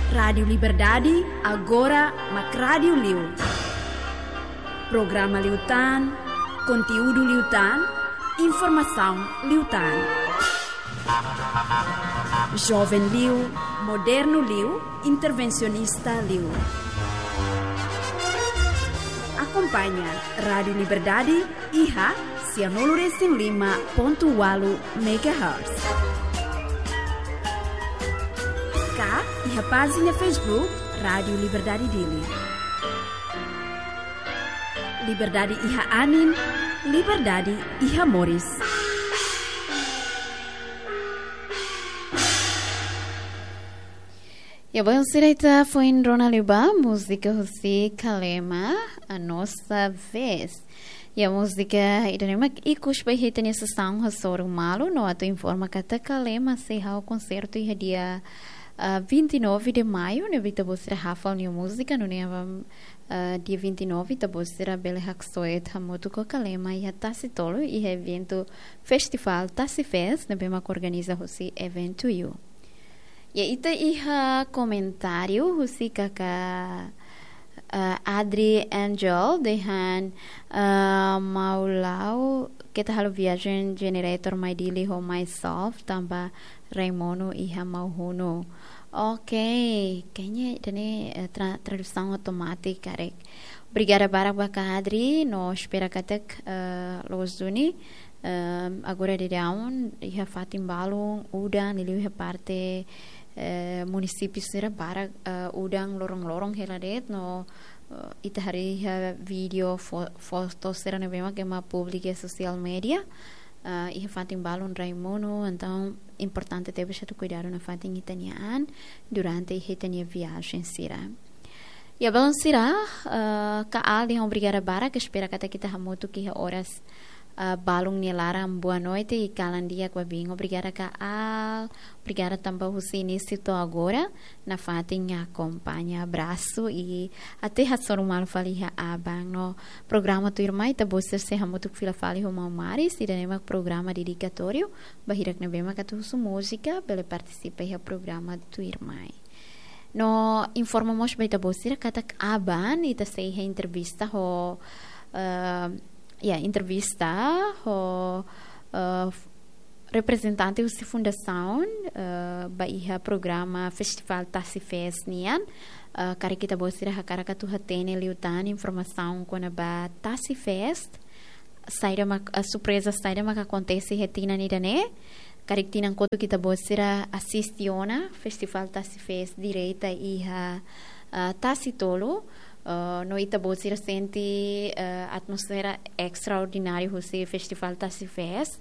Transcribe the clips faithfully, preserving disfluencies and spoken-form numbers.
Rádiu Liberdade, agora mak rádiu liu. Programa liután, konteúdu liután, informasaun liután. Joven liu, modernu liu, intervensionista liu. Akompaña Rádiu Liberdade iha sianulu resin lima pontu ualu megahertz. Ka iha pájina Facebook Rádiu Liberdade Dili. Liberdade iha anin, liberdade iha moris. Ya, belun sira, ita foin rona liu ba múzika husi Kalema, A Nossa Vez. Ya, múzika ida-ne'e mak ikus ba iha ita-nia sesaun hasoru malu, no atu informa katak Kalema sei halo konsertu iha dia, ah, vinte e nove de maio, ne'ebé ita-boot sira hafal nia múzika, nune'e, ah, dia vinte e nove ita-boot sira bele haksoit hamutuk ho Kalema iha Tasi Tolu, iha eventu Festival Tasi Fest, ne'ebé mak organiza husi Event to You. Ya, ita iha komentáriu husi kaka, eh, Adri Angel dehan, eh, Maulao, keta halo viajen generator mai Dili ho mai solve, tanba rai monu iha Maun Hunu. Oke, kayaknya ida-ne'e, eh, tra-, tradusaun automátika, karik. Obrigada barak ba kaka Adri, no espera katak, eh, loos duni, eh, agora daudaun iha fatin balun udan, liuliu iha parte, eh, munisípiu sira barak, eh, udan loron-loron hela de'it, no, eh, ita haree iha vídeo, fo-, foto sira ne'ebé mak ema publika iha sosiál media, eh, iha fatin balun rai monu, entaun importante tebes atu kuidadu nafatin ita-nia an durante iha ita-nia viajen sira. Ya, belun sira, eh, kaka Adri, obrigada barak, espera katak ita hamutuk iha oras, eh, balun nia laran, boa noite i kalan di'ak ba biin. Obrigada kaka Adri, obrigada tanba husi inísiu to'o agora nafatin akompaña. Abrasu i até hasoru malu fali iha aban. No programa tuirmai ita-boot sira sei hamutuk fila fali ho maun Maris, ida-ne'e mak programa dedikatóriu ba hirak ne'ebé mak atu husu múzika, bele partisipa iha programa tuirmai. No informa mós ba ita-boot sira katak aban ita sei iha entrevista ho, eh, ya, entrevista ho, eh, f-, reprezentante husi fundasaun, eh, ba iha programa Festival Tasi Fest nian. Eh, karik ita-boot sira hakarak atu hatene liután informasaun kona-ba Tasi Fest, saida mak, eh, surpreza saida mak akontese iha tinan ida-ne'e. Karik tinan kotuk ita-boot sira asiste ona Festival Tasi Fest direta iha, eh, Tasi Tolu. Eh, no ita-boot sira sente, eh, atmosfera estraordináriu husi Festival Tasi Fest.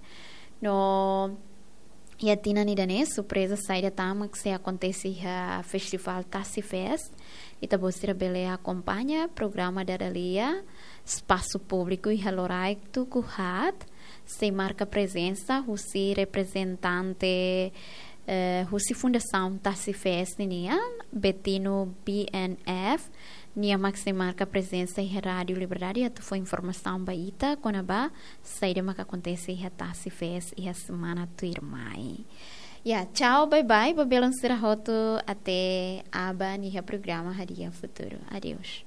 No iha tinan ida-ne'e, surpreza saida tan mak sei akontese iha Festival Tasi Fest. Ita-boot sira bele akompaña programa dada lia, espasu públiku iha loraik tuku haat, sei marka prezensa husi reprezentante, eh, husi Fundasaun Tasi Fest ninian, Betino B N F, nia mak sei marka prezensa iha Rádiu Liberdade atu fó informasaun ba ita kona-ba saida mak akontese iha Tasi Fest iha semana tuirmai. Ya, tchau, bye bye, ba belun sira hotu, até aban iha programa Hadi'a Futuru. Adeus.